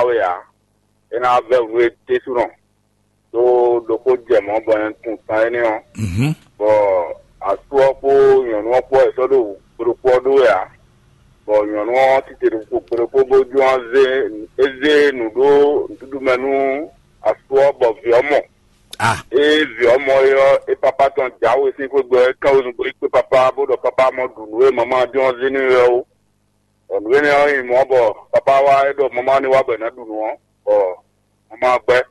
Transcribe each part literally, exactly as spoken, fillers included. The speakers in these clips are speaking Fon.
wɛ ǎ. É ná vɛ́ nǔ e ɖésúnɔ ɖó ɖokpó jɛ mɔ̌ bɔ nyɛ tunwun tan énɛ́ ɔ́. Mhm. Bɔ asú ɔ́ kpó nyɔ̌nu ɔ́ kpó wɛ sɔ́ ɖo gbeɖokpó ɔ́ ɖó wɛ ǎ. Bɔ nyɔ̌nu ɔ́ tite ɖo gbeɖokpó bó jlɔ́n zé é zé nǔ ɖó nǔɖuɖu mɛ nú asú ɔ́ bɔ vǐ ɔ́ mɔ. Ah. Ée vǐ ɔ́ mɔ é ɔ́, é pápá tɔn jǎwe sín xwé gbɔ é kán wezun bó yi kpé pápá bó ɖɔ pápá mɔ ɖu nǔ e mama jɔ́n zé n'i wɛ ó. Bɔ nǔ énɛ́ ɔ́ nyi mɔ̌ bɔ pápá wá é ɖɔ mama ní wá bɔ è nǎ ɖu nǔ ɔ́, bɔ mama gbɛ́.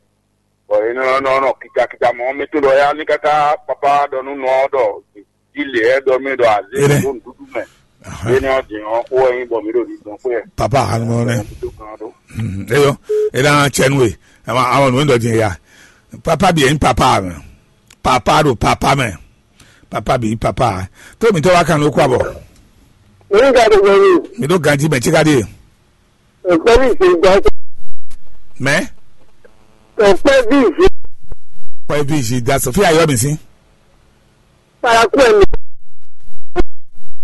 Bɔ é nɔ nɔ nɔ kikakika mɔ̌ mɛ tó ɖɔ éyá ní káká pápá ɖɔ nú nɔ ɔ́ ɖɔ jí lě ɛ ɖɔ mì ɖɔ azé Énɛ́. Ɖó nǔɖuɖu mɛ. Ahán. Énɛ́ ɔ́ din ɔ́ xó wɛ nyí bɔ mǐ ɖo ɖiɖɔ xwé ɛ. Papa hanu mɔ nɛ. Mǐ tó kan ɖó. Hmm, eyo, e ɖo aŋa cɛ nú we. Ama ama nǔ e ɖɔ din ya. Papa bi yɛ nyí papa mɛ. Papa ɖo papa mɛ. Papa bi papa. Tó mi tɔ wa kan ló kó abɔ. Èyí ká tó gbọ́ mi. Mi ɖó ganji mɛ tí ká dé. Ọ̀pẹ́ bí ìṣe gbọ́. Mɛ. Ọ̀pẹ́ bí ìṣe Pɛ bi zi da Sofia yɔ mi si. Paraku ẹ̀ mi.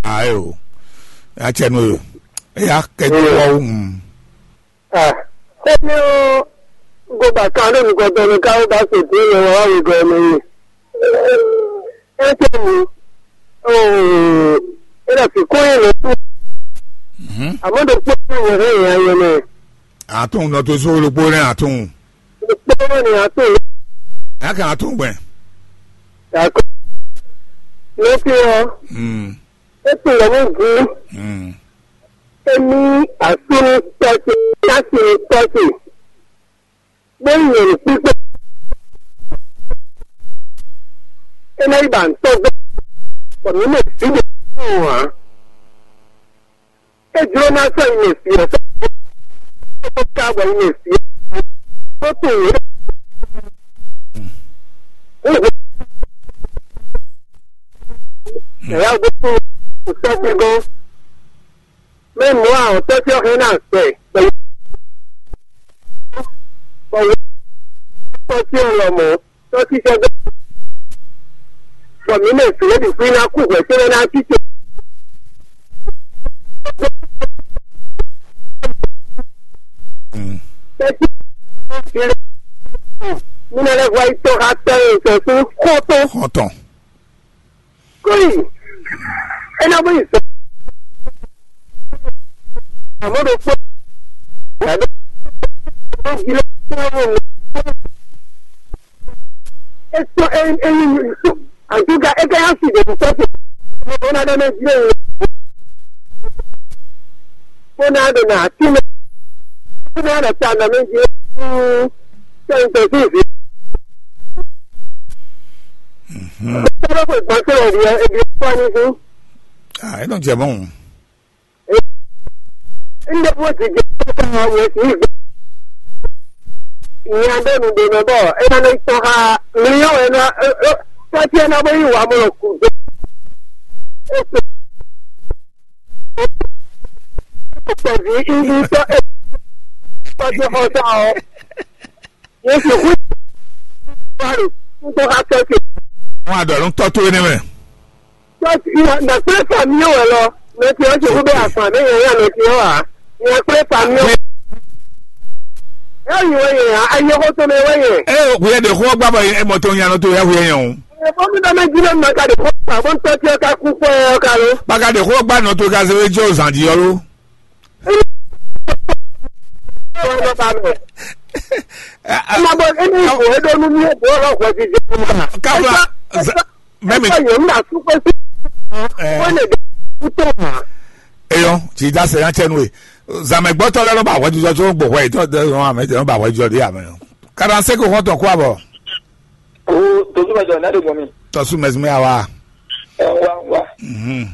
Ayo. Ya cɛ no yo. Eya kɛ ti wɔ wu. Ah. Ó ní ó gbogbo àkàndó nìkan tó ní káwó bá ṣètò ìyẹn wọn wá wí gan ọmọ yìí. Ẹ tẹ́ mi. Ó ẹ lọ sí kóyè lọ sí. Mhm. Àmọ́ tó pé ní ìyẹn rẹ̀ yẹn ayẹ náà. Atún nɔ tó só lókpó rẹ̀ atún. Lókpó rẹ̀ ni atún. Yà kàn atún gbẹ. Yàtọ̀. Ló fi hàn. Hmm. É pè wọ́n ní gún. Hmm. Émí àsúnú tọ́sí, láti ní tọ́sí. Bó yẹn ní pípé. É náà yí bá ń tọ́gbẹ́. Kò ní lè fi lè fún wọn. É jló ná sɔ́ yi mɛ fi ɔ́. Ó ká bɔ yi mɛ fi ɔ́. Ó tún wò. Ó wò. Ẹ̀yà gbogbo kò sẹ́kù gan. Mɛ mɔ̌ a ɔ̌ tɔ́ tí ɔ́ hɛn ná gbɛ gbɛ. Bɔ wò tɔ́ tí ɔ́ lɔ mɔ̌ tɔ́ tí sɛ́ gbɛ. Bɔ mǐ mɛ sǐ lɛ́ bǐ kú ná kú hwɛ̌ cóbɔ ná cí ce. Tɛ́ tí mǐ ná lɛ́ hwɛ yi tɔ́ xá tɔ́ e sɔ sín xɔ́ntɔn. Xɔ́ntɔn. Kóyi, é ná bó yi sɔ. Àmọ́ ɖo kpó. Yàrá ó jí lé kpó wò ní. É sọ é é ní ní sọ. Àdúgà é ká yá sì dé ní sọ́kù. Ó ná dá mẹ́ jí lé wò. Ó ná dé nà á tí mẹ́. Ó ná dé tá nà mẹ́ jí lé. Sẹ́yìn tẹ̀síìsì. Mhm. Tọ́lá kò gbọ́n tó rẹ̀ rí ẹ, ebi ó pọ́ ní fún. Ah, ẹ dɔn jẹ mɔ. Ndé bó ti jẹ kókó wọn yẹn sì gbé. Ìyẹn abẹ́ mi dènà bọ̀, ẹ máa lọ sọ ha mílíọ̀nù ẹ náà, ẹ ẹ tọ́jú ẹ náà bóyá ìwà mọ̀ kù dé. Ó pè é pẹ̀lú ibi tọ́ ẹ tọ́jú ọ̀sán ọ̀. Yesu hu bari ŋutɔ ka tɔ ce. Wọn adɔ ló ń tọ́ tó énɛ́ mɛ. Tɔsi ìwà nàkúrẹ́ fàmì yóò wẹ̀ lọ. Mẹtì ọ́ ṣe kú bẹ́ẹ̀ àfà mí yẹn yà mẹtì ọ́ wà. Nàkúrẹ́ fàmì yóò. Ẹ yìí wọ́n yẹn, ayé kó tó mi wọ́n yẹn. Ẹ ò kúyẹ́ de kó gbá bọ̀ ẹ mọ̀ tó yan tó yá kúyẹ́ yẹn o. Ẹ bọ́ mi bá mi jí lọ́nà ká de kó fà bó ń tọ́ tí ẹ ká kú fún ẹ ká ló. Bákàdé kó gbá nọ tó ká ṣe wé jẹ́ òsàn jí ọ ló. Ẹ, ẹ, Ẹ máa bọ nínú ìbò ẹdọọdún ní ẹgbẹ́ ọlọ́pàá ti jẹ ọmọ. Káfíńà, Ẹ sá- mẹ́mi- Ẹ sá yòó ńlá súpẹ́ sí. Ẹ. Wọ́n lè dé kútó mọ́. Eyɔn, tsi da se yan tsɛ nue. Zame gbɔtɔ lɛ nɔ ba wɛjujɔ tso gbɔ wɛ tɔ de nɔ ame tɛ nɔ ba wɛjujɔ de ame. Karanse ko hɔn tɔ kó abɔ. O tozu mɛ jɔ n'a de gbɔn mi. Tɔsu mɛsumɛ awa. Ɛ wa wa. Mhm.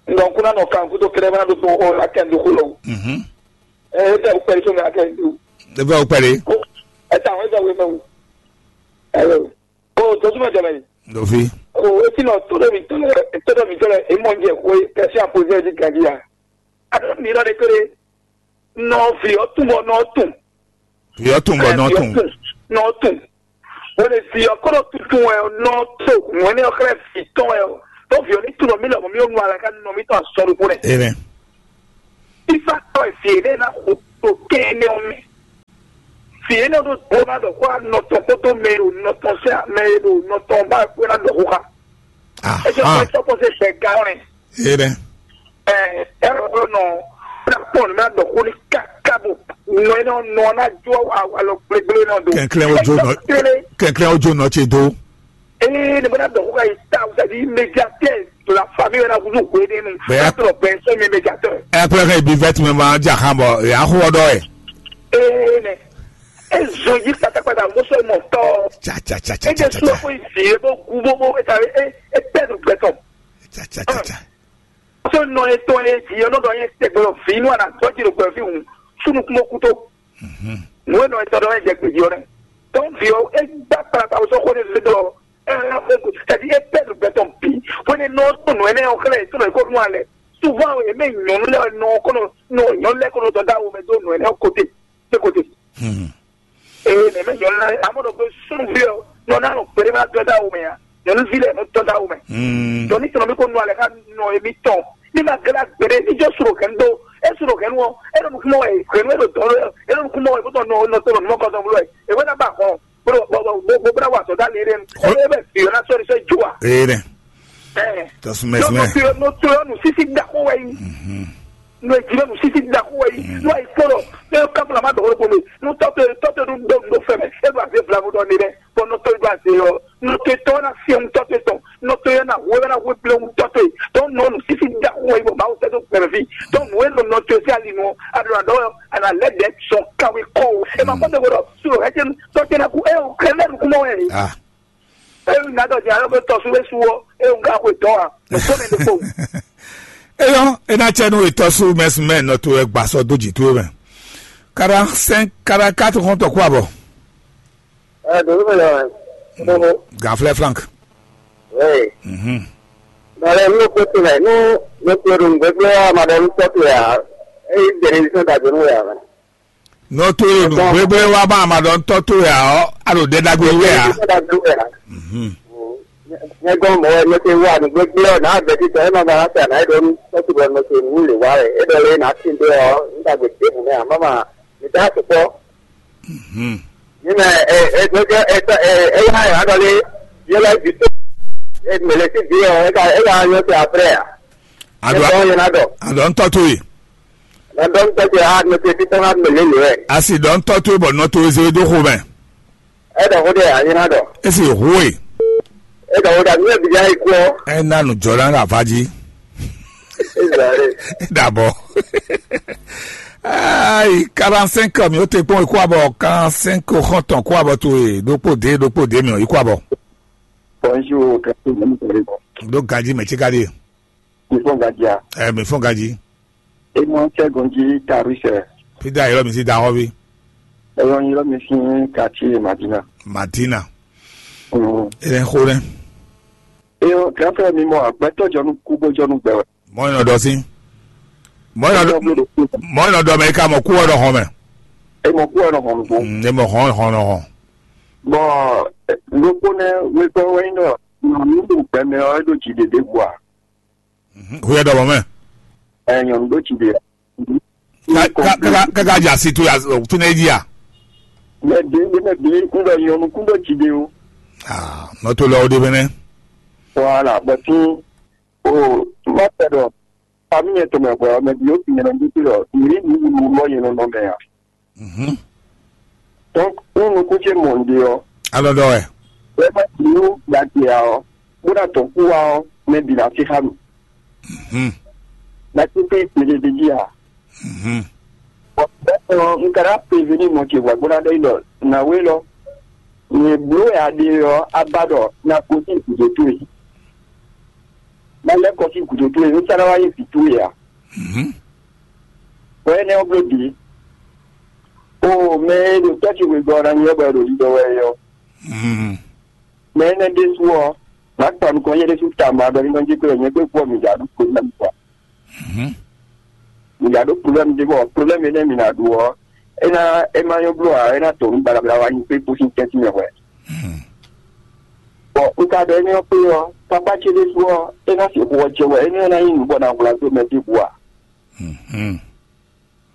Ŋgɔ kuna nɔ kan kuto kɛlɛ mana do to o la kɛ ndo kulo. Mhm. Ɛ e tɛ o pɛri to mi akɛ ndo. Ebe o pɛri. Ɛ ta o e tɛ o e mɛ o. Ɛ o tozu mɛ jɔ mɛ. Dofi. O e ti nɔ to de mi to lɛ to de mi to lɛ e mɔ njɛ ko e kɛsi apoze di gadi ya. A mi lɔ de kele. Nɔ vi ɔ tun bɔ nɔ tun. Yɔ tun bɔ nɔ tun. Nɔ tun. O le vi ɔ kɔnɔ tuntun wɛ nɔ to ŋwɛnɛ ɔ xlɛ vi tɔn wɛ o. Tɔ vi ɔ ni tun nɔ mi lɔ mɔ mi o nu ala ka nɔ mi tɔn asɔ ɖokpo nɛ. Amen. Ifa tɔ vi ne na xo to kɛ ne o mi. Vǐ énɛ́ ɖo dó ná ɖɔ xó anɔ tɔn kpódó mɛ e ɖo nɔ tɔn sɛn mɛ e ɖo nɔ tɔn ba kpó ná ɖɔ xó xá. Ɛ jɔ Ahan. Xɔ sɔkpɔ se sɛ ga ɔnɛ. Eye ɖɛ. Ɛ ɛ ɔ nɔ na kpɔn na ɖɔ xó ni kaka bo nɔ énɛ́ nɔ na jó alɔ gblégblé nɔ do. Kɛnklɛn o jo nɔ. Kɛnklɛn o jo nɔ ce do. Ee, ne bena dɔn ko ka yi ta, c'est-à-dire médiateur de la famille wɛ na kuzu hwe de nu. Bɛɛ. Tɔ bɛn sɛ mi médiateur. Ɛ kplɛ ka yi bi vɛt mɛ ma ja kan bɔ ya xɔ dɔ ɛ. Ee, ne e zɔn yi kpatakpata mo sɔ mɔ tɔ. Cha cha cha cha e cha de cha sɔ cha. Ko yi si e bo gu bo bo e ta e e pɛ do gbɛtɔ. Cha cha cha cha. Sɔ nɔ etɔn e di ɔnɔ dɔ ye tɛgbɛ vi nu ana tɔ ji do gbɛ vi wu sunu kumo kuto. Mhm. Nu e nɔ etɔ dɔ ye jɛ gbeji ɔnɛ. Tɔn vi ɔ e gba kpala ta sɔ ko ne se dɔ e la ko tadi e pɛ do gbɛtɔ bi. Ko ne nɔ to nu ene o kle to ko nu ale. Souvent e me nyɔnu le nɔ ko no no nyɔnu le ko no dɔ da wo me do nu ene o kote. Se kote. Mhm. Ee, nɛ mɛ nyɔnu lɛ amɔ ɖɔ ko sunvi ɔ nɔ na nɔ gbɛɖe ma dɔ da wo mɛ ya. Nyɔnuvi lɛ nɔ dɔ da wo mɛ. Mm. Dɔ ni tɔnɔ mi ko nɔ alɛ ka nɔ emi tɔn. Ni ma gla gbɛɖe ni jɔ suro kɛn do. E suro kɛn wɔ e ɖo nukumɔ wɛ kɛn e ɖo dɔn e ɖo nukumɔ wɛ bɔtɔ nɔ nɔ tɔnɔ numɔ kɔtɔn blo wɛ e wɛ na ba hɔn blo bɔ bɔ bɔ bla wa sɔ da le ɖe nu. E bɛ fi na sɔri sɔ ju wa. Ee nɛ. Ɛ. Tɔsumɛsumɛ. Nɔ to nɔ to nu sisi da ko wɛ yi. Mhm. Nɔ e jló nu sisi da ko wɛ yi. Mm. Nɔ e kpɔlɔ ne ka fla ma dɔgɔ ko mi nu tɔtɔ tɔtɔ nu do do fɛmɛ e do aze blamu dɔ ne dɛ bɔn nɔ to do aze yɔ nɔ to tɔ na fiɛ nu tɔtɔ tɔn nɔ to yɛ na hu yɛ na hu kple nu tɔtɔ yi tɔn nɔ nu sisi da ko wɛ yi bɔ mawu tɛ do gbɛmɛ fi tɔn nu e nɔ nɔ to si ali nu a do na dɔ ana lɛ dɛ sɔn kawe kɔ o e ma kɔ tɛ ko dɔ su o hɛ tɛ nu tɔtɔ na ku e o kɛ lɛ nu kumɔ wɛ yi. Ah. Eyi na dɔ jɛ alo be tɔsu be su ɔ, eyi n ka xwe dɔn a, o ko ne de kpo. Eyɔ, e na cɛ nu etɔ su mɛsumɛ nɔ to wɛ gba sɔ do ji to mɛ. Quarante-cinq, quarante-quatre xɔntɔ kó abɔ. Ɛ donu mɛ lɛ wɛ. Dogo. Gaflɛ Frank. Oui. Mhm. Dɔlɛ nu ko tɛmɛ nu ne ko dun gbɛgbɛ a ma dɔ nu tɔ to ya. Eyi dɛrɛ yi sɔn da donu ya. Nɔ to e ɖo nǔ gbégbé wá bá amadɔntɔ́ towe ǎ ɔ́, a ɖo ɖɛ ɖagbe wɛ ǎ. Mhm. Nyɛ gɔn mɔ̌ wɛ nɔ te wa nǔgbégbé ɔ́, nǎ vɛ̌ títɔ é ma ba ná sa nǎ é ɖɔ nú tɔ́tugɔnɔ ce nǔ lě wa wɛ. É ɖɔ lé nǎ tín dó ɔ́, nú ɖagbe ɖěbǔ mɛ ǎ, má ma mi dó asukpɔ́. Mhm. Ní mɛ ɛ ɛ gbɛgbɛ ɛ ɛ ɛ yá ɛ adɔ lé yé lɛ bǐ tó. Ɛ mɛ lɛ sí bǐ ɔ́, é ka é ka nyɔ te aprɛ ǎ. Adɔ É dɔn yé ná dɔ. Adɔ ntɔ towe. Nɔ dɔn tɔ́ ce a nɔ te títí ná mɛ lě lě wɛ. Asi dɔ ntɔ towe bɔ nɔ towe zé dó xo mɛ. É dɔ xó ɖe a yé ná dɔ. Esi hu e. É dɔ xó ɖe a mi yɛ bi ya yi kú ɔ. Ena nu jɔ na ava jí. Ezali. Dabɔ. Ayi quarante-cinq mi o te kpɔn ikú abɔ quarante-cinq xɔntɔn kú abɔ towe ɖokpó dé ɖokpó dé mi o ikú abɔ. Bonjour, kɛtɛ mɛ mi tɛlɛ bɔ. Ɖo gaji mɛ tsi ka ɖe. Mi fɔn gaji a. Ɛ mi fɔn gaji. E mɔ tɛ gonji tarisɛ. Pida yɔrɔ mi si da hɔbi. E yɔ yɔrɔ mi si kati madina. Madina. Mm. E lɛ xo lɛ. E yɔ kafɛ mi mɔ agbɛtɔ jɔnu kubo jɔnu gbɛ wɛ. Mɔ yɔ dɔ si. Mɔ yɔ dɔ mɔ yɔ dɔ mɛ ka mɔ ku wɔ dɔ hɔn mɛ. E mɔ ku wɔ dɔ hɔn ko. Mm, e mɔ hɔn hɔn nɔ hɔn. Bɔn lókpó nɛ wégbɔ wɛ nyí nɔ nyɔnu ɖo gbɛmɛ ɔ e ɖo dzi ɖe ɖe bua. Xwé ɖɔ mɔ̌ mɛ. Ɛ nyɔnu ɖó tsi ɖe. Káká ja si tó ya fínɛ́ jí a? Mɛ bí mɛ bí ń ɖɔ nyɔnu kún ɖó tsi ɖe o. Aa nɔ tó lɛ o ɖe mɛ nɛ. Wala bɔtí o má tɛ ɖɔ fami yẹn tɔmɛ hwɛ ɔ mɛ bí ó fi nyɛ nɔ bí tó ɖɔ mǐ ní nǔ wulu lɔ yẹn nɔ nɔ mɛ a. Mhm. Donc un nukún ce mɔ un ɖe ɔ́. Alɔ ɖɔ wɛ. Bɛ́ má bǐ nú ɖagbe ǎ ɔ́, bó ná tɔn kú wá ɔ́, mɛ bǐ ná sí xá mì. Mhm. Ná sí pé kpeɖé jí ǎ. Mhm. Bɔn bɛ́ ɔ́, un ka ná prévenir mɔ ce hwɛ̌ bó ná ɖɔ nyi ɖɔ nǎwe lɔ, nyɛ bló wɛ a ɖe ɔ́, a ba ɖɔ ná gosín gǔdo towe. Ná lɛ́ kɔ sín gǔdo towe, un ka ná wá nyí vǐ towe ǎ. Mhm. Bɔ énɛ́ ɔ́ bló bǐ. O mɛ e ɖo tɔ́ ce wegɔ́ ɔ́ ná nyí ɔ́ bɔ è ɖo ɖiɖɔ wɛ é ɔ́. Mm. Mɛ énɛ́ ɖésú ɔ́, nǎ kpa nukɔn nyɛ ɖésú tama ɖɔ ní nɔ jí kplɔ́ nyɛ kpé kú ɔ mǐ ɖǎ ɖu problème quoi. Mhm. Mǐ ɖǎ ɖo problème ɖé bɔ problème énɛ́ mǐ ná ɖu ɔ́, é ná é má nyɔ́ bló ǎ, é ná tɔ nǔ baɖabaɖa wá nyi kpé kpó sín tɛ́ntin mɛ hwɛ̌. Mm. Bɔn un ka ɖɔ énɛ́ ɔ́ kpé ɔ́, pápá ce ɖésú ɔ́, é ná sixú ɔ́ jɛ wɛ, énɛ́ ɔ́ ná nyí nǔ bɔ ná hwlá dó mɛ ɖěbǔ ǎ. Mhm.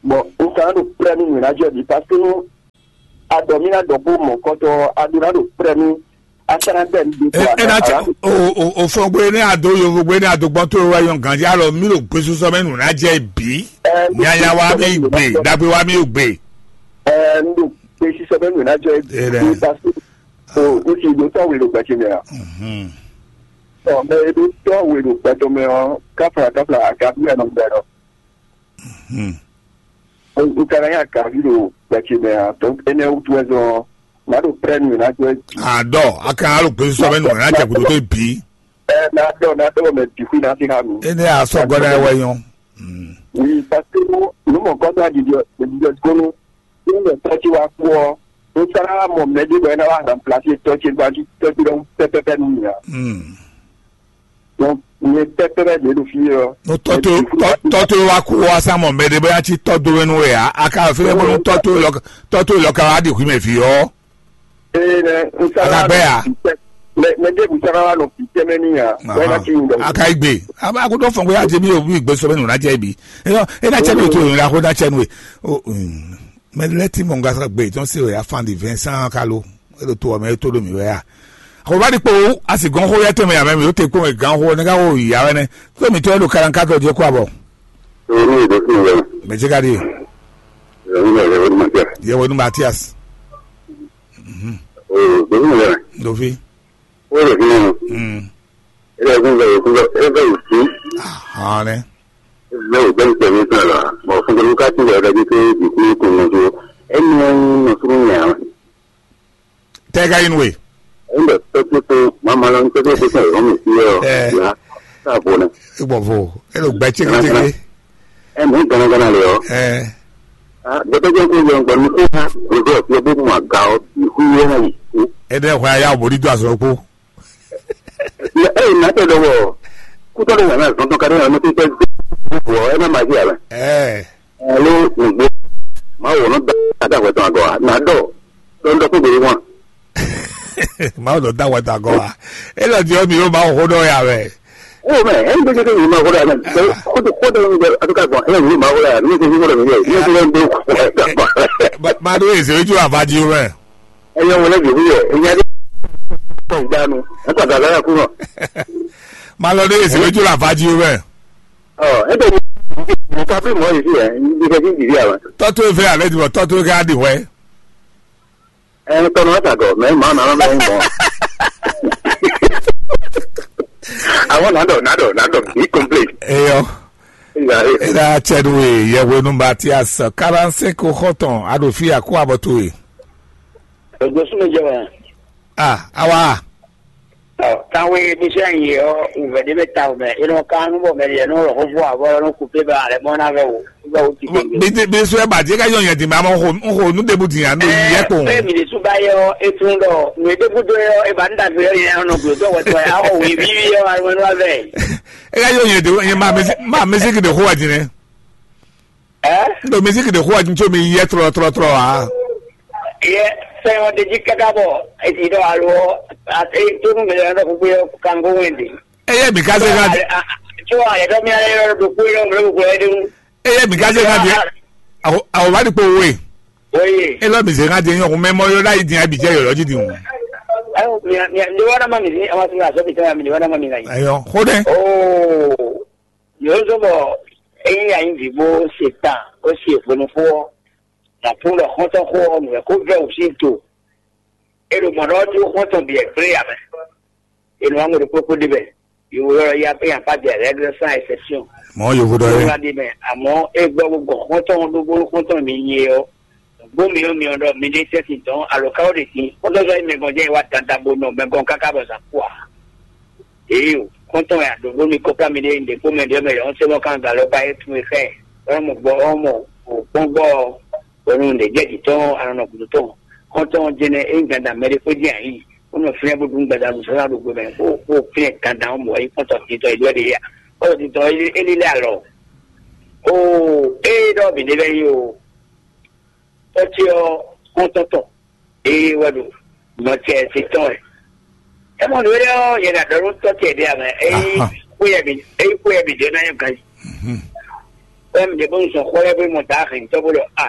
Bɔn un ka nɔ ɖo plɛ́ nú nǔ e ná jɔ jí, parce que nú a ɖɔ mì ná ɖɔ bó mɔ kɔtɔ, a ɖó ná ɖo prɛ́ nú a sá ná bɛ mi ɖe. E kɔ e ná cɛ a o o o fɔn gbe ne a do yovo gbe ne a do gbɔn to wa yɔn ganji alɔ mi ɖo gbesisɔ mɛ nu na jɛ bi. Ɛ, nyanya wa mi gbe dagbe wa mi gbe. Ɛ, n ɖo gbesisɔ mɛ nu na jɛ E ɖe. Bi parce que o n si do tɔ wele gbɛtsi mɛ a. Mhm. Ɔ mɛ e do tɔ wele gbɛtɔ mɛ ɔ kafla kafla a ka bi ɛnɔ gbɛ dɔ. Hmm. N ka ná nya kaví ɖo gbɛtsi mɛ ǎ, donc énɛ́ wútu wɛ zɔn ɔ́, nǎ ɖo prɛ́ nú ná jɔ. Àdɔ, a kan alo gbèsè sɔbɛ nù ná jɛ gǔdo tó bǐ. Ɛ ná ɖɔ ná ɖɔ mɛ bǐ xwí ná sí há mi. Énɛ́ a sɔ́ gɔ́ ná wɛ nyɔ́. Hmm. Oui, parce que nú mɔ kɔ́tɔ́ aɖiɖi ɔ́, ɖiɖi ɔ́ kónú ní mɛ tɔ́ ce wá kú ɔ́, un sá ná wá mɔ mɛ ɖé bɔ é ná wá remplacer tɔ́ ce gbajú tɔ́ ce ɖɔhun pɛ́pɛ́pɛ́ nú mì ǎ. Hmm. Donc, nyɛ pɛ́pɛ́pɛ́ ɖě ɖo fí ɔ́. No tɔ́ tó tɔ́ tó wá kú wá sá mɔ mɛ ɖé bóyá cí tɔ́ dó wɛn nú wɛ ǎ. A ka fínɛ́ bónú tɔ́ tó lɔ tɔ́ tó lɔ ka wá ɖi hwǐ mɛ fí ɔ́. Ee nɛ n sá Agagbɛ ya. Mɛ mɛ ɖé kun sá wá nɔ fi tɛmɛ ní ya. Bóyá cí ń dɔ. A ka yi gbe. A b'a ko dɔ fɔn ko ya jẹ mi o mi gbe sɔbɛ nuna jẹ bi. E yɔ e na cɛ mi o to yɔn ya ko na cɛ nu e. O mm. Mɛ lɛ ti mɔ nga gbe tɔn se wɛ afan di Vincent kalo. E ɖo to ɔmɛ e to ɖo mi wɛ ya. Xo va ɖi kpo asi gɔn xo yɛ tɛmɛ ya mɛ mi o te kpo mɛ gan xo ne ka xo ya wɛ nɛ. To mi to e ɖo kalan ka tɔ jɛ kó abɔ. Owó ní ìdó fún ìyẹn. Mɛ jẹ ka di. Ìyẹn ní ìyẹn ní màtíà. Yẹ wọ ní Matias. Owó ìdó fún ìyẹn. Dofi. Owó ìdó fún ìyẹn. Mm. Ilé ẹ̀kún bẹ̀rẹ̀ kú lọ ẹ bẹ̀rẹ̀ sí. Ahọ́n rẹ. Ẹ bẹ̀rẹ̀ gbẹ́ni pẹ̀lú kan la. Mọ̀ fún mi ká tún bẹ̀rẹ̀ dájú pé ìdí kúrò kò mọ̀ tó. Ẹni wọn ń nọ fún mi àwọn. Tega in way. Inda tɔtɔ mama lan tɔtɔ tɔtɔ yɔ mi si yɔ. Eh. La ta bona. Igbɔ vo. Elo gbɛ tigi tigi. E mi gana gana le yɔ. Eh. Ah, gbɛtɔ jɛn ko yɔ gbɔ mi ko ha. Gbɛtɔ yɔ bo ma ga o. Ihu yɔ na yi. Ede hwa ya obori do azɔ kpo. E na tɛ dɔ wɔ. Kutɔ de na zɔn tɔ kare na mi tɛ. Wɔ e na ma ji ala. Eh. Alo nugbo. Ma wɔ no da da wɛ tɔn agɔ. Na dɔ. Dɔ dɔ ko bere wan. Mawu ɖo da wɛ da gɔ wa. E lɔ di ɔ mi yóò ma xo ɖɔ ya wɛ. O mɛ, e n gbèsè ke yìí ma xo ɖɔ ya mɛ. Xo ɖɔ xo ɖɔ mi bɛ a tó ka gbɔn e yìí ma xo ɖɔ ya mi ko xo ɖɔ mi yɛ mi ko lɛ n do. Ma ɖo eze ojú àfájí o mɛ. E yẹ wọlé jòbí yẹ e nya dé. Kɔ gbanu e kɔ gàgà yà kú nọ. Ma lɔ ɖo eze ojú àfájí o mɛ. Ɔ e bɛ mi ka fi mɔ yìí fi yẹ n bí kẹ́ fi jì fi àwọn. Tɔ́tú e fẹ́ alẹ́ ti bọ̀ tɔ́tú e ká di hwẹ́. Ẹ tọnọ ẹ kàgọ mẹ màá nà mẹ ń gbọn. Àwọn nàdọ nàdọ nàdọ ní complain. Eyɔ. Ìgbà rẹ. Eda tsɛnu e yɛhwenu Matias karanse ko xɔtɔn aɖo fi aku abɔto e. Ègbè súnmí jẹ wẹ. Ah, awa. Kan wé bí sẹ́ ń yè ọ́ wùvẹ́ dé bɛ ta wùmẹ́ inú kan nú bọ̀ mẹ́rin yẹn nú rọ̀ fúnfún àbọ̀ nú kùpé bá alẹ́ mọ́ náà fẹ́ wò. Nígbà wo ti gbẹ̀ngẹ̀. Bí bí sọ ẹ bàjẹ́ ká yọ yẹn dì mí àmọ́ n kò n kò nú débù dì yàn ló yẹ kó. Ẹ mi lè tún bá yẹ ọ etun dọ nù edé kúndó yẹ ọ ẹ bá ń dàgbé yọ yẹn ọ̀nà gbòòtú ọ̀wọ́ tó yẹ ọ wì bí yọ àwọn ẹnu abẹ. Ẹ ká yọ yẹn dè yẹn máa mẹsí máa mẹsí kìdè kó wà jìnnà. Ẹ N dò mẹsí kìdè kó wà jìnnà tí omi yẹ trọ trọ trọ wá. Yẹ sẹ́yìn ọdẹ jí kẹ́kẹ́ bọ̀ èsì dọ̀ àlọ́ àti tó nù mí lọ́dọ̀ gbogbo yẹ kango wẹ̀ndì. Ẹ yẹ mi ká sẹ́ ká dé. Tí wọ́n àyẹ̀dọ́ mi ayẹyẹ lọ́dọ̀ gbogbo yẹ ọ̀gbẹ́ gbogbo yẹ dé wù. Eye mi ka se ŋa di. Awo awo va di kpo wo ye. Oye. E lɔ mi se ŋa di nyɔ kun mɛ mɔ yɔ la yi di abi jɛ yɔ yɔ ji di ŋu. Ayo mi mi mi wa na ma mi ni ama ti na so bi tɛ mi ni wa na ma mi na yi. Ayɔ ko dɛ. Oh. Yo so bɔ eyi ya yin vi bo se tan o se funu fo. Na kun lɔ hɔntɔn ko o mi ko vɛ o si to. E ɖo mɔ̌ ɖɔ ɔ́ dó xɔ́ntɔn bǐ wɛ gblé ǎ mɛ. È nɔ wá ŋwe ɖokpó kpó ɖe mɛ. Yǒ ylɔ́ yá pé yǎ pá bǐ règle sans exception. Mɔ̌ yovo ɖɔ é. Wá ɖe mɛ, àmọ́ é gbọ́ gbogbo xɔ́ntɔn ɖokpó xɔ́ntɔn mi nyi é ɔ́. Gbó mi ɔ́ mi ɔ́ ɖɔ mi ɖé tɛ́ sin dɔn alo ká ó ɖe sin. Xɔ́ntɔn sɔ́ nyí mɛ gɔn jẹ́ wá dandan bo nɔ mɛ gɔn káká bɔ zǎn kú ǎ. Ee o, xɔ́ntɔn ya ɖo ɖó mi kɔ́ ká mi ɖe ɖě kpó mɛ ɖě mɛ yɔ̌ sɛ́ mɔ kán galɔ ba é tún é xá ɛ. Ɔ́ mɔ gbɔ ɔ́ mɔ o kpɔ́n gbɔ ɔ́. Bɔ nú nǔɖé jɛ jǐ tɔn anɔ nɔ gǔdo tɔn. Xɔ́ntɔn ɔ́ jɛnɛ é nyí dandan mɛ ɖé xwé dín ayǐ, bó nɔ fínɛ́ bó ɖu gbada nǔsánná ɖo gbe mɛ, bó bó fínɛ́ dandan ɔ́ mɔ é kpɔ́n tɔtítɔ é ɖɔ ɖe yá. Kpɔ́n tɔtítɔ é lé lé alɔ. Oo, ée ɖɔ mǐ ɖe lɛ́ɛ nyí o. Tɔ́ ce ɔ́, xɔ́ntɔn tɔn, ée wɛ ɖo nɔ ce se tɔn wɛ. É mɔ nǔ énɛ́ ɔ́, yɛ ɖo ɖɔ nú tɔ́ ce ɖé ǎ mɛ, é nyí xwé yɛ mǐ é nyí xwé yɛ mǐ ɖe ná nyɔ́ ganjí. Wɛ mǐ ɖe bónú zɔn xɔ lɛ́ɛ bó mɔ dǎ hɛn tɔ́ bó ɖɔ a.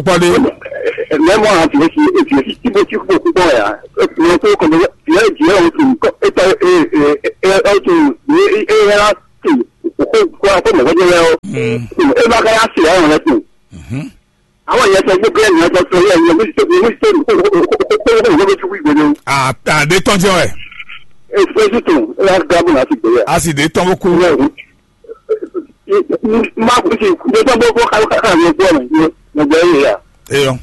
kpɔ́ ɖé. Mɛ mɔ a vǐ si e vǐ si tí bó tí kó kú kpɔ́n yà. Mɛ tó kɔ mɛ vǐ ɛ jǐ ɛ o tún kɔ e tɔ e e e e o tún e e e la tún kó wá kó mɔ̌ gbɛ́jẹ́ lɛ́ɛ ɔ́, é má ka yá se ayọ̀ lɛ́ɛ tun. Àwọn èèyàn sọ pé bẹ́ẹ̀ ni wọ́n sọ pé ẹ̀ yẹ mí ṣe mí ṣe kó kó kó kó kó kó kó kó kó kó kó. Àdé tán jẹ́ wẹ̀. Èso sì tún ẹ wá gbá bùnà ti gbé yà. A sì dé tán bó kú. Má kú sí, dé tán bó kó ká ká ká ní kú ọ̀nà yìí ní gbẹ́ yìí yà. Eyɔ.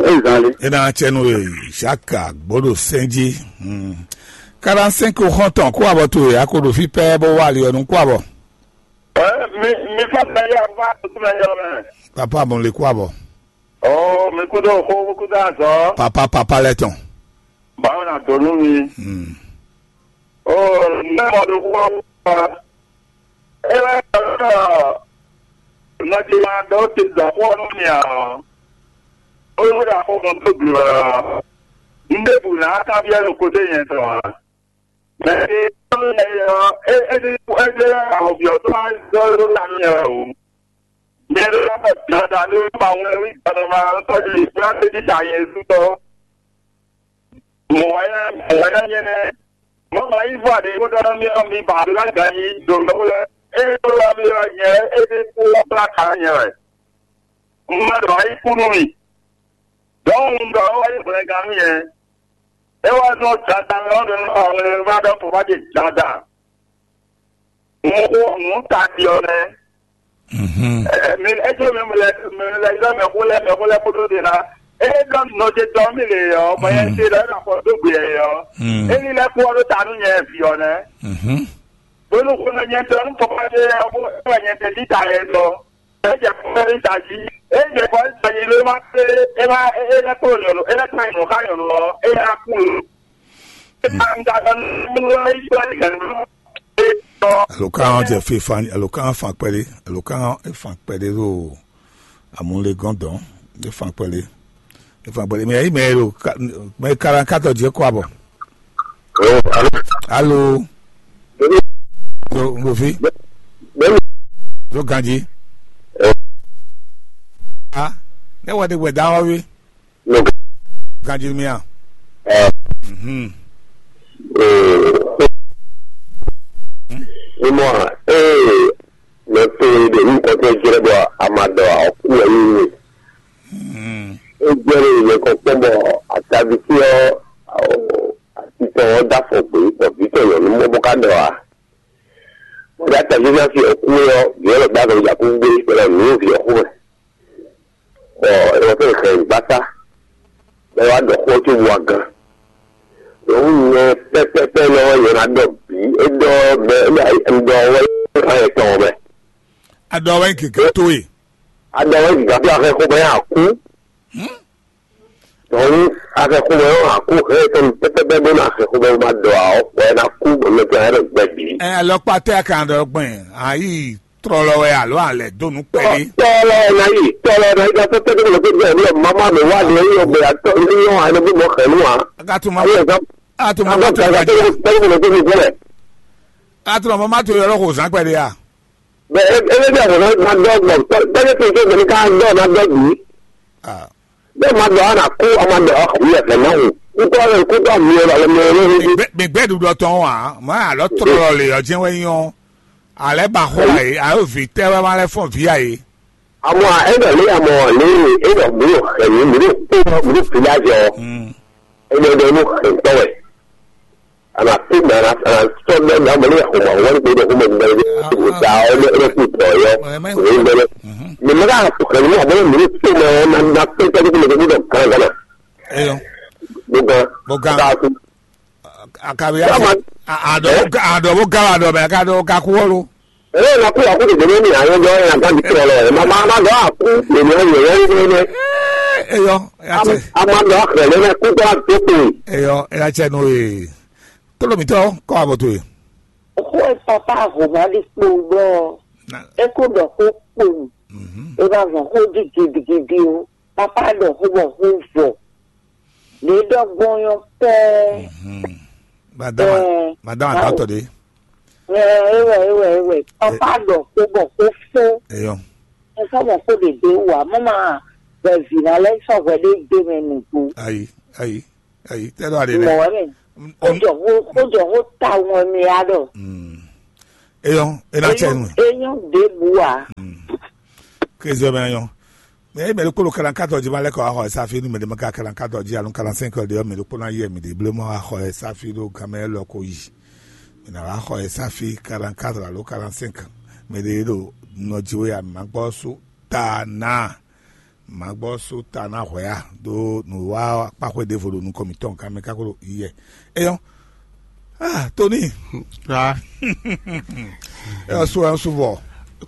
Ẹ zan lé. Ena tsɛnu e Jacques Agboɖo Sɛnji. Quarante-cinq xɔntɔn kó abɔ to e akoɖo fi pɛ bó wá ali ɔnu kó abɔ. Ɛ, mi mi fata ya va tuntun mɛ yɔ mɛ. Papa mo le kó abɔ. Ɔ mi kú dó xó kú dó azɔ. Papa papa lɛ tɔn. Báwo na dó nú mi? Hmm. Ɔ ne mɔ do kó wá. E wɛ ɔ nɔtí ma dó ti dɔ xó nú mi a. O yóò dà xó mɔ tó gblɔ. N bɛ bu na kábíyá ló kó dé yẹn tɔ. Mɛ e tɔn lɛ yɔ, e e ní e ní ahɔ̌byɔ́ tó wá zɔ́ ló ná nyɛ wɛ o. Nyɛ ló ná bɛ dada ló ma wɛ wí gbadama tɔ́jú ìgbà tẹ́tí ta yẹn zú tɔ́. Mɔ̌ wá nyɛ mɔ̌ wá nyɛ nyɛ nɛ́. Mɔ̌ ma yí vɔ aɖě bó ɖɔ nú mì ɔ́, mi ba aɖǒ ná gan yí ɖo nɔ́ lɛ́ɛ. Ényí tó lɔ mì ɔ́, nyɛ é ɖé kú wá blá ka nyɛ wɛ. Un ma ɖɔ ayí kú nú mì. Dɔ̌n un ɖɔ ɔ́ wá nyí hwlɛngán nú nyɛ. É wá zɔ́n Satan ɔ́ ɖo nú ɔwlɛnvá ɖɔ́ fɔ́fá ce Satan. Un xo nǔ tati ɔ́ nɛ́. Mhm. Ɛ, mi ɛ jɔ mi lɛ mi lɛ yɔ mɛ xó lɛ mɛ xó lɛ kpódó de na. É ɖɔ nɔ ce tɔ mi le yɔ, bɔ yɛ ce ɖɔ é na xɔ dó gbe yɛ yɔ. Mm. É ní lɛ kpó ɔ́ ɖó ta nú nyɛ vi ɔ́ nɛ́. Mhm. Bónú xó lɛ nyɛ tɔ nú fɔ́fá ce ɔ́ bó é wɛ nyɛ tɛ dí ta yɛ tɔ. É jɛ fɔ́fá ní ta jí. É jɛ fɔ́fá ní ta jí ló má pé é má é é lɛ kpó nyɔ̌nu é lɛ kpá nyɔ̌nu xá nyɔ̌nu ɔ́ é ná kú. É má ń ta dɔ nú é yi gbá ní gɛ̌n. Alo kan jɛ fifan, alo kan fan kpɛɖé, alo kan fan kpɛɖé ɖo amúlegɔn dɔn, é fan kpɛɖé, é fan kpɛɖé. Mɛ yi mɛ ɖo mɛ kalan katɔ jɛ kɔ abɔ. Alo, alo. Alo, alo, fi. Alo, ganji. Ah, ne wɔ de gbɛ da wɔ wi. Ganji mi a. Mhm. Mímọ́ à, ee, mɛ to e ɖe nukɔn tɔn jlɛ́ bɔ a ma ɖɔ ɔ́ kú wɛ nyí mi. Mhm. É jlɛ́ ɖe yě kɔ kpɔ́n bɔ ataví fí ɔ́, atitɔn ɔ́ dó afɔ gbě bɔ vǐ tɔn nyɔ̌nu mɔ bó ká ɖɔ ǎ. Bó dó ataví fí ɔ́ kú ɔ́, vǐ ɔ́ lɔ dó afɔ ja kú gbé bɔ é lɔ nǔ vǐ ɔ́ xú mɛ. Bɔ é wɔ fɛ́n hɛn gbáta, bɔ é wá ɖɔ xó cóbɔ wá gán. Nyɔ̌nu nyɛ pɛ́pɛ́pɛ́ nɔ ɔ́, nyɛ ná ɖɔ bǐ, é ɖɔ mɛ é ɖɔ wɛ é hán yɛ tɔn mɛ. A ɖɔ wɛ gǐgá towe. A ɖɔ wɛ gǐgá towe, a hɛn xó bɔ é hán kú. Nyɔ̌nu, a hɛn xó bɔ é hán kú, hɛn yɛ tɔn pɛ́pɛ́pɛ́ bó ná hɛn xó bɔ é má ɖɔ ǎ, bɔ é ná kú, bɔ mɛ tɔn ɛ ɖɔ gbɛ bǐ. Ɛ alɔkpa tɛ a kan ɖɔ gbɛn ayi trɔlɔ wɛ alo alɛ donu kpɛli. Tɔlɔ na yi, tɔlɔ na yi ka tɔtɔ de ko ko de lo mama me wa de yo be ato ni yo ane bi mo xenu a. Gatuma. Ayo ka. Atuma ma to gaji. Ko ko ko ko ko. Atuma ma to yɔrɔ ko zan kpɛli a. Be e e de ko na do gbo. Be ke to so de ka do na do bi. Ah. Bẹ́ẹ̀ máa dọ̀ ánà kú ọmọ dọ̀ ọkùnrin ẹ̀fẹ̀ náà wò. Kútọ́ rẹ̀ kútọ́ mi ò lọ́wọ́ mi ò lórí. Mìgbẹ́ dúdú ọtọ wa, mọ àlọ́ tọrọ lè ọjẹ́ wẹ́ yán. Alẹ́ bá xó àyè, àyò vi tẹ́ wẹ́ máa lẹ́ fún vi àyè. Àmọ́ ẹ̀dọ̀ lé àmọ́ lé ẹ̀dọ̀ gbúdọ̀ ẹ̀mí gbúdọ̀ kó gbúdọ̀ fi lájọ. Ẹ̀dọ̀ ẹ̀dọ̀ inú ẹ̀tọ́ wẹ̀. Ana kpé mɛ ana ana sɔ bɛ na mɛ ne yɛ xɔmɔ wɛn kpé ɖo xɔmɔ gbɛ ɖe o da o ne ne kú tɔ yɔ o ne gbɛ ɖe mɛ mɛ ka xɔ kɛ ne mɔ ne mɛ to mɛ na na kpé tɛ kpé mɛ kpé dɔ kan gana. Eyo. Bogan. Bogan. Ka ku. Akabi ya. Adɔ adɔ bogan adɔ mɛ ka dɔ ka ku wɔlo. Ee, na kú akú dèdè ní àyè jọ ẹ̀ àgbà mi tọ̀ lọ ẹ̀ máa máa lọ àkú èmi ayọ̀ yẹn ní ní. Eyɔ, a máa lọ àkàrà lẹ́nu kú tó àdókò. Eyɔ, ẹ yà tsẹ nù ee. Tólómítọ́ kọ́ àbọ̀tò yìí. Xó e papa Romali kpo gbɔ, e ko ɖɔ xó kpo, e ma zɔn xó di gidigidi o. Papa ɖɔ xó bɔ xó vɔ. Ɖě ɖɔ gbɔn nyɔ pɛɛ. Madame, madame atatɔ de. Ewɛ ewɛ ewɛ. Papa ɖɔ xó bɔ xó fó. Eyɔ. Esa mɔ xó ɖe ɖe wa mɔ ma bɛ vi na lɛ sɔ hwɛ ɖe ɖe mɛ nugbó. Ayi, ayi, ayi. Tɛ ɖɔ aɖe nɛ. Mɔ wɛ mɛ. Xójɔ xó xójɔ xó ta ŋɔ mi ya ɖɔ. Eyɔn, ena tsɛ nu. Eyɔn ɖěbǔ ǎ. Kézɔ mɛ nyɔ. Mɛ mɛ ɖokpó ɖo kalankatɔ jí ma lɛ́ kɔ axɔ ɛsa fí nú mɛ ɖé ma ka kalankatɔ jí alo kalansɛnkɔ ɖé ɔ́, mɛ ɖokpó ná yɛ mɛ ɖě bló mɔ axɔ ɛsa fí ɖó gamɛ lɔ ko yi. Mɛ ná wá axɔ ɛsa fí kalankatɔ alo kalansɛnkɔ. Mɛ ɖé ɖo nɔ jí wé ya mɛ ma gbɔ sú ta ná. Mǎgbɔ́ sú ta ná hwɛ̌ a ɖó nǔwiwa kpáxwé ɖěvo ɖo nukɔn mǐtɔn kan mɛ kákó ɖo yiyɛ. Eyɔ́, ah, Tony, Ah, eyɔ́ sú ɛ sú vɔ,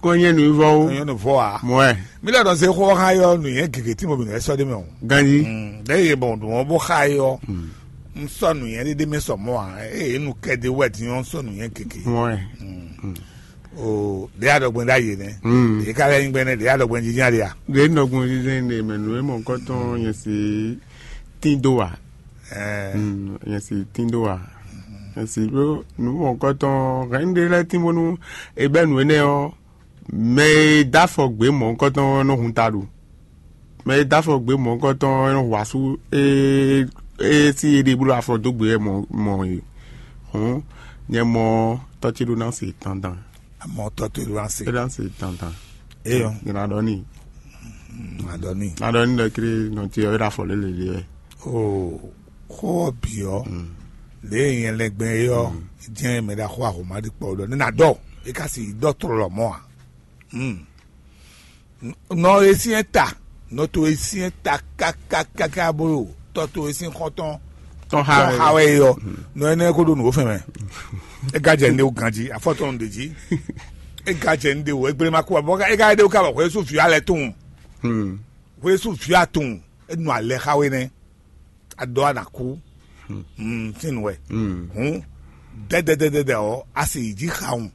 kó nyɛ nǔvɔ ó. Nyɛ nu vɔ a. Mɔɛ, Mílíọ̀nù ɖɔ zé xó xá yɔ nǔnyɛ gěgé tí mo bì nǔ ɛ sɔ́ dé mɛ o. Ganji. Ɖé yé bɔn ɖùn ɔ́ bó xá yɔ. N sɔ́ nǔnyɛ ɖé ɖé mɛ sɔ mɔ́ a. Eye nu kɛ ɖé wɛ din ɔ́ n sɔ́ nǔnyɛ gěgé. Mɔɛ. O ɖe aɖɔgben ɖe ayi nɛ. Mm. Ɖe ka lɛ nyigbe nɛ ɖe aɖɔgben jijin aɖe a. Ɖe nɔgun ɖiɖe ne mɛ nǔ e mɔ kɔtɔn nyɛ si tín dó wa. Ɛɛ. Mm, nyɛ si tín dó wa. Nyɛ si ɖó nǔ mɔ kɔtɔn hɛn ɖe lɛ tín bónú e bɛ nǔ énɛ́ ɔ́, mɛ e dó afɔ gbě mɔ kɔtɔn nɔ hun ta ɖu. Mɛ e dó afɔ gbě mɔ kɔtɔn nɔ hu asú e e si e ɖe bló afɔ dó gbě wɛ mɔ mɔ e. Hǔn nyɛ mɔ tɔ́ ce ɖó ná se dandan. Amɔ tɔ́ to ɖó ase. É ɖo ase dandan. Eyɔ. Nyina ɖɔ ni. Adɔ ni. Na ɖɔ ni ɖɔ kiri nɔ ti ɔyɔ ɖe afɔ lélele wɛ. O xó ɔ bǐ ɔ, lě e nyɛ lɛgbɛ é ɔ, jɛn mɛ ɖe axɔ ahoma ɖi kpɔ ɖɔ ne na dɔ. E ka si dɔ trɔ lɔ mɔ a. Nɔ e syɛ́n ta, nɔ to e syɛ́n ta kákákáká bó ɖo tɔ to e sín xɔ́ntɔn Tɔn xa tɔn wɛ. Xa wɛ e ɔ. Nɔ énɛ́ ko ɖo nǔ fɛn mɛ. É gán jɛ ní ɖe wú ganjí, afɔ tɔn ɖe jí. É gán jɛ ní ɖe wú, égbléma kú abɔ é gán ɖe wú ká bɔ xwé sú vǐ alɛ tún. Xwé sú vǐ atún. É nɔ alɛ xa wé nɛ́. Adɔ ana kú. Sín nǔ wɛ. Hǔn dɛdɛdɛdɛdɛ ɔ, a sì yi jí xawun.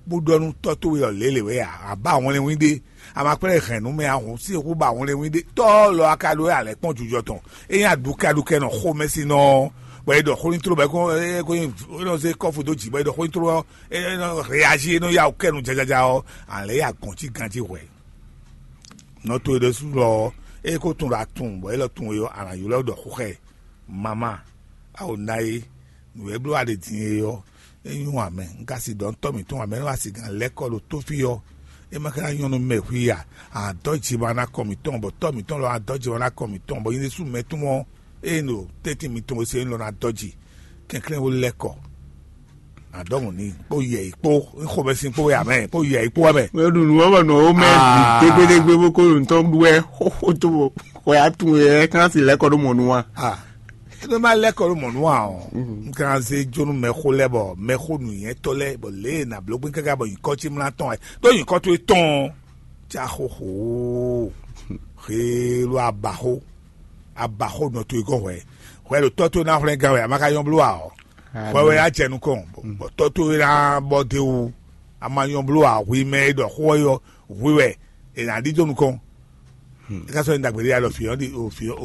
Bó ɖɔ nú tɔ́ towe ɔ́ lě lě wɛ a, a ba wlɛnwín ɖé. A ma kplɛ́n hɛn nú mɛ a hǔn sí xú ba wlɛnwín ɖé. Tɔ́ lɔ a ka ɖó alɛ̌ kpɔ́n jujɔ tɔn. É nyí aɖukɛɖukɛ nɔ xomɛsinɔ ɔ́, bɔ é ɖɔ xó nyi tló bɔ é kó é kó nyi é nɔ zé kɔ́fu dó jǐ bɔ é ɖɔ xó nyi tló ɔ́, é nɔ reazi é nɔ ya wǔ kɛ nu jajaja ɔ́, alɛ̌ ya gɔ̌n cí ganjí hwɛ̌. Nɔ towe ɖésú lɔ ɔ́, é kó tun ɖo atun bɔ é lɔ tun é ɔ́, a nǎ ylɔ́ ɖɔ xó xá ɛ. Mama, a o ná é, nǔ e bló a ɖe din é ɔ́, é nyí wǎn mɛ. Un ka si ɖɔ nú tɔ́ mǐtɔn wǎn mɛ nú a si gǎn lɛ́ kɔ ɖo tó fí ɔ́, é ma ka ná nyɔ́ nú mɛ hwí a? A dɔ́ jǐma ná kɔ mǐtɔn, bɔ tɔ́ mǐtɔn lɔ a dɔ́ jǐma ná kɔ mǐtɔn, bɔ nyɛ ɖésú mɛ tɔn ɔ́, ée ɖo tɛ́ntin mitɔn e se é lɔ ná dɔ́ jǐ. Kɛnklɛ́n ó lɛ́ kɔ. Adɔmu ni kpó yɛ yi kpó xomɛsin kpó wɛ amɛ kpó yɛ yi kpó wɛ mɛ. Mɛ ɖu nǔ wɔ́ bɔ nǔ ɔ́ mɛ bǐ Ah. Dégbédégbé bó kó ɖo nǔtɔn ɖu wɛ xóxó tó bɔ xɔ ya tun wɛ ɛ kán si lɛ́ kɔ ɖó mɔ nú wa. Ah, é ma lɛ́ kɔ ɖó mɔ nú wa ɔ́. Un kan zé jónú mɛxó lɛ́ bɔ mɛxó nǔnyɛ́tɔ́ lɛ́ bɔ lě e nǎ bló gbé káká bɔ nyǐkɔ ce mlá tɔn wɛ ɖó nyǐkɔ towe tɔn ɔ́, cá xóxó. Xélu abaxó abaxó nɔ towe gɔ́n hwɛ. Hwɛ ɖo tɔ́ towe ná hwlɛ́n gán wɛ a ma ka nyɔ́ bló wa ɔ́. Hwɛ wɛ á jɛ nukɔn bɔ tɔ́ towe ná bɔ d'é wú. A ma nyɔ́ bló wa hwi mɛ e ɖɔ xó ɔ́ yɔ hwi wɛ è nǎ ɖidó nukɔn. É ká sɔ́ nyí ɖagbe ɖé ya ɖɔ vǐ ɔ́ ɖi o vǐ ɔ́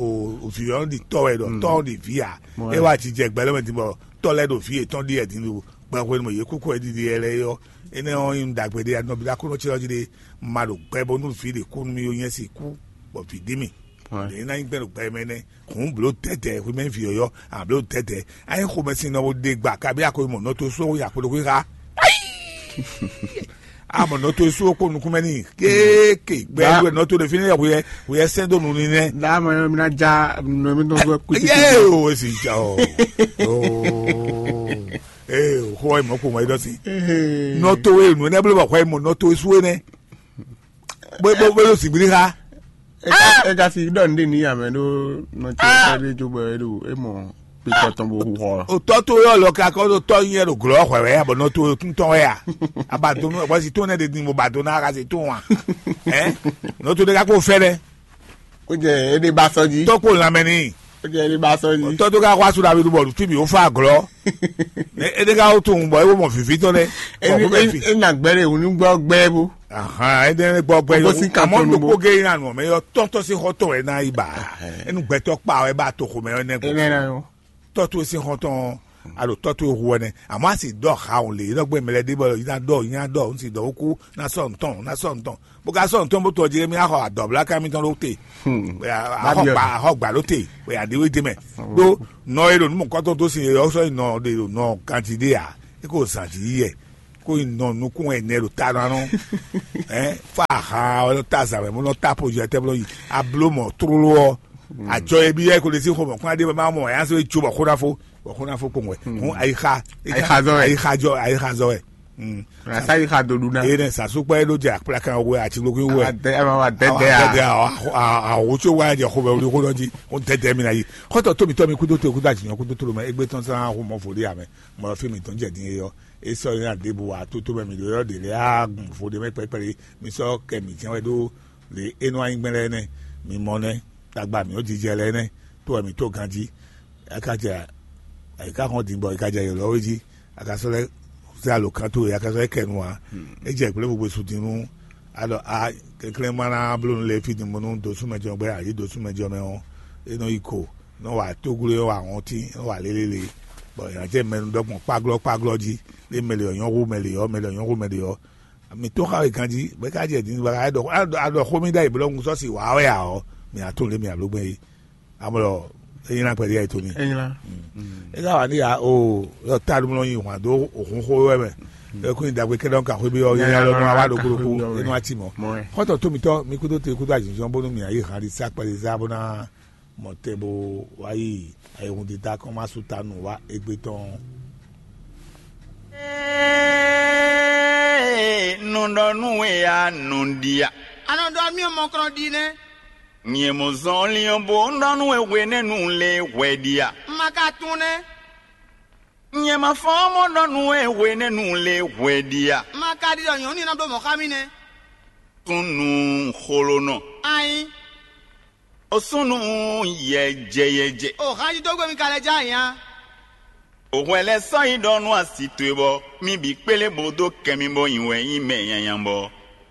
o vǐ ɔ́ ɖi tɔ́ wɛ ɖɔ tɔ́ ɔ́ ɖi vǐ ǎ. É wá jijɛ gbɛ lɛ́ mɛ din bɔ tɔ́ lɛ́ ɖo vǐ yětɔn ɖi wɛ din ɖo gbɛ hwenu mɛ yě kúkú wɛ ɖiɖi yɛ lɛ́ɛ ɔ́. Énɛ́ ɔ́ nyí ɖagbe ɖé ya nɔ bi ɖo Aklúnɔ ce ɔ́ jí ɖé. Ma ɖo gbɛ bónú vǐ ɖě kú nú mì ó nyɛ si kú bɔ vǐ ɖi mì. Ɖě ná nyí gbɛ́ ɖo gbɛ mɛ nɛ́. Hǔn blǒ dɛ̌dɛ̌ hwemɛ vǐ ɔ́ yɔ́, a blǒ dɛ̌dɛ̌. A nyí xomɛsin nɔ bo ɖe gba kabi a ko mɔ nɔ to só ya kpo ɖokpó xá. A mɔ nɔ to só kpo nukún mɛ n'i kéékè gbɛ Ba- ɖu nɔ to ɖe fínɛ́ yɛ hweyɛ hweyɛ sɛn dó nu ni nɛ́. Dá mɔ mi ná já nɔ mi tɔn gbɛ kú títí. Yé o esi ja o. Oo. Ee o xó ɔ́ mɔ kó mɔ é dɔ si. Nɔ to e nu nɛ blo bɔ xɔ e mɔ nɔ to e su e nɛ. Bó bó bó yóò sì gbiri xa. Eka si ɖɔ nɖe ní yàmɛ ɖó nɔtí ɛfɛ ɖé jó bɔ é ɖo é mɔ pitɔ tɔn bó hu xɔ. O tɔ to yɔ lɔ ka kɔ ɖo tɔ nyɛ ɖo glɔ xɔ wɛ abɔ nɔ to tun tɔn wɛ a. Aba do nu ɛgbɔ si to nɛ de din mo ba do na ka se to wa. Ɛ nɔ to de ka ko fɛ dɛ. Ó jẹ é ɖe ba sɔ jí. Tɔ kpo lamɛ ni. Ó jẹ é ɖe ba sɔ jí. Tɔ to ka ko asu dabi du bɔ tu bi o fa glɔ. Ede ka wo tun bɔ ewo mɔ vivi tɔn dɛ. Ena gbɛ ɖe wònú gbɔ gbɛ bó. Ahan, ede gbɔ gbɛ Gbogbo yɔ. Si kan Amɔ tɔnu ɖokpo bo. Ge yina nɔ mɛ yɔ tɔntɔ si xɔ tɔ wɛ na yi ba. Enu gbɛtɔ kpa wɛ ba to xɔ mɛ wɛ nɛ Ena gbɔ. Na yɔ. Tɔtu si xɔ tɔn alo tɔtu hu wɛ nɛ. Amɔ asi dɔ ha o le yɔ gbɛ mɛ lɛ de bɔ yina dɔ yina dɔ n si dɔ oku na sɔ ntɔn na sɔ ntɔn. Bo ka sɔ ntɔn bo tɔ jɛ mi axɔ adɔbla ka mi tɔn ɖo te. Axɔ gba axɔ gba ɖo te. Wɛ aɖewe de mɛ. Ɖo nɔ e ɖo numɔ kɔtɔ do si yɔ sɔ nɔ de nɔ ganji de ya. Eko zanji yi yɛ. kó nyi nɔ nukún wɛ nɛ ɖo ta nɔ anɔ ɛ fa ha ɔ ta zan wɛ mo nɔ ta po jɔ tɛ blo yi ablo mɔ trolo ɔ ajɔ ye bi yɛ ko le si xɔ mɔ kún ade ma mɔ ya se jo bɔ xona fo bɔ xona fo kpɔn wɛ kun ayixa Ayixa zɔ wɛ. Ayixa jɔ ayixa zɔ wɛ. Asa yi xa do ɖu na. Eye ne sasu kpɛ ɖo jɛ akplakan wɛ atsigblogun wɛ Adɛ ama wa dɛdɛ a. Dɛdɛ a awo tso wa jɛ xɔ bɛ wuli xɔ dɔ ji o dɛdɛ mi na yi xɔtɔ tomi tɔmi kudo to kudo atsinyɔ kudo to mɛ egbe tɔn sara xɔ mɔ fo ɖe amɛ mɔ fi mi tɔn jɛ din yɔ esɔ yina debu wa to to mɛ mi ɖo yɔ ɖe lɛ a gun fo ɖe mɛ kpɛkpɛ mi sɔ kɛ mi jɛn wɛ ɖo le enɔ anyi gbɛn lɛ nɛ mi mɔ nɛ tagba mi o jijɛ lɛ nɛ to wɛ mi to ganji aka jɛ ayika xɔn din bɔ ika jɛ yɔlɔ wɛ ji aka sɔ lɛ zé alo kan to yɛ aka sɔ lɛ kɛ nu wa e jɛ gblé gbogbo su din nu alɔ a kɛnklɛn ma na bló nu lé fi din mo nu do súnmɛ jɔ gbɛ ayi do súnmɛ jɔ mɛ ɔ e nɔ yi ko nɔ wa tógló nɔ wa hɔntín nɔ wa lélélé bɔ yàn jẹ mɛnu dɔgbọn kpaglɔ kpaglɔ ji lé mɛ lè ɔ nyɔ hu mɛ lè ɔ mɛ lè ɔ nyɔ hu mɛ lè ɔ mi tó xa wɛ ganji bɛ ká jɛ din bɛ ká dɔ adɔ xó mi ɖa yi blɔ ŋu sɔ si wà wɛ a ɔ mi atún lé mi alo gbɛ yi amɔ e nyina kpɛɖi ayi to mi Enyla. E ka wà ní ya o yɔ ta ɖo mlɔ yi hwan dó òhun xó wɛ mɛ e kún yi dagbe kɛɖɛ ka xó bi ɔ yɛ yɛ lɔ nɔ wa ɖo kúlókú e nɔ ati mɔ xɔtɔ tó mi tɔ mi kúdó te kúdó azinzɔn bónú mi ayi hàn ɖi sa kpɛɖi zá bó ná mɔ tɛ bó wá yi ayihun dídá kɔn má sú ta nù wá égbé tɔn. Nɔ ɖɔ nú we ya nɔ ɖi a? A nɔ ɖɔ mí mɔkrɔn ɖi nɛ́. Nyɛ mɔ zɔnlin ɔ́ bó nɔ nú we hwenɛ́nu lé hwɛ ɖi a? Ma ka tunwun nɛ́. Nyɛ ma fɔ́n mɔ nɔ nú we hwenɛ́nu lé hwɛ ɖi a? Ma ka ɖi ɖɔ nyɔ̌nu ní ná bló mɔ̌ xá mì nɛ́. Súnnu xolonɔ. Ayin. O súnnu yɛjɛyɛjɛ. O hánjúdógbé mi ka lɛ́ já nya. O hwɛ lɛ́ sɔ́ yi ɖɔ nú asi towe bɔ mí bǐ kplé bó dó kɛ mì bó nyi wɛ nyí mɛ nyanya bɔ